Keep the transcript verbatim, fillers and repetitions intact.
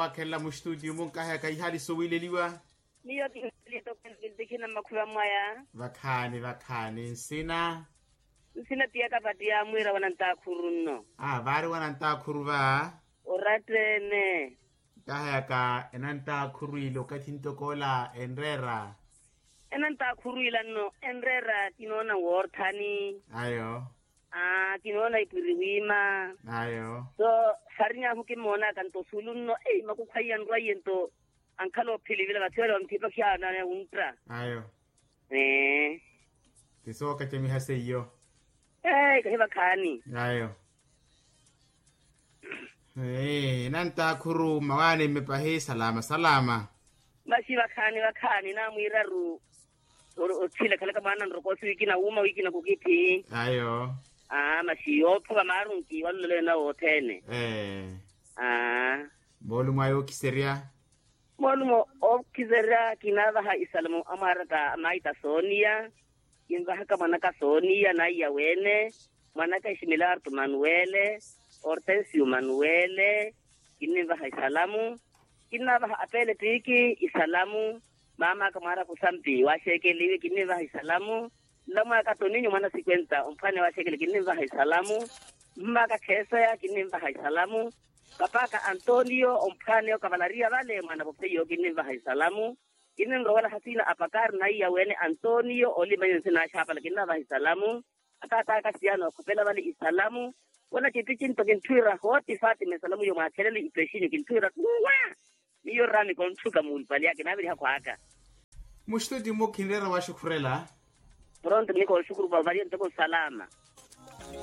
Wakhelela mustudio munkaheyaka ihali sowileliwa. Miyo kinhali etokelo kintikina mmakhuva mwaya. Vakhaani vakhaani nsina. Nsina tiyaka patiya mwiira wa nantakhuru nno. A vaari wa nantakhuru va. Orattene. Nkaheyaka enantakhuru ile okathi ntokoola enreera. Enantakhuru ila nno enreera kinoona woorthani. Ayo. Aa kinoona ipwiri wiima. Ayo. So, sarinyahu kimmoonaka nto suulu nno ei makukhwaiya nrwaiye nto. Ankhala ophilivila vathi wale wamuthipa khiyaana wuntta. Ayo. Ee. Ti sookacamiha seiyo. Ee kahi vakhaani. Ayo. Ee enantakhuru mmawaani mmepahi salama salama. Maxi vakhaani vakhaani naamwiiraru. Othile khalaka mwaana nrokoosi wikina wuuma wikina kukithi. Ayo. Aa maxi yoophuka maarunki walulelo ena wothene. Ee. Aa. Moolumo ayo okiserya. Moolumo okiserya kinaavaha isalamu amwaaraka maita sooniya. Kinvahaka mwanaka sooniya naiya weene. Mwanaka eximilarto manuwele. Ortensio manuwele. Kinninvaha isalamu. Kinnaavaha apele tiiki isalamu. Maamaaka mwaaraku sampi waaxeekeliwe kinninvaha isalamu. Nlamwaaka toninyo mwana sikwenta omphwaane waaxeekele kinninvaha isalamu. Mmaaka kheeseya kinninvaha isalamu. Papaaka antonio omphwaane okavalariya vale mwaana vofeiyo kinninvaha isalamu. Kinninrowela hasina apakari naiya wene antonio olimanyo nsinaaxapala kinnavaha isalamu. Ataataka siyano akhopela vale isalamu. Wena kiticinto kintthuwira hooti fatima isalamu yo mwaakhelele ipexinyu kintthuwira kuwa. Miyo rami kontthuka muulupali ake naaviriha khwaaka. Muxtuti mukhinrera waxukhurela. Pronto mini konxukuru vavariya ntoko nsalama.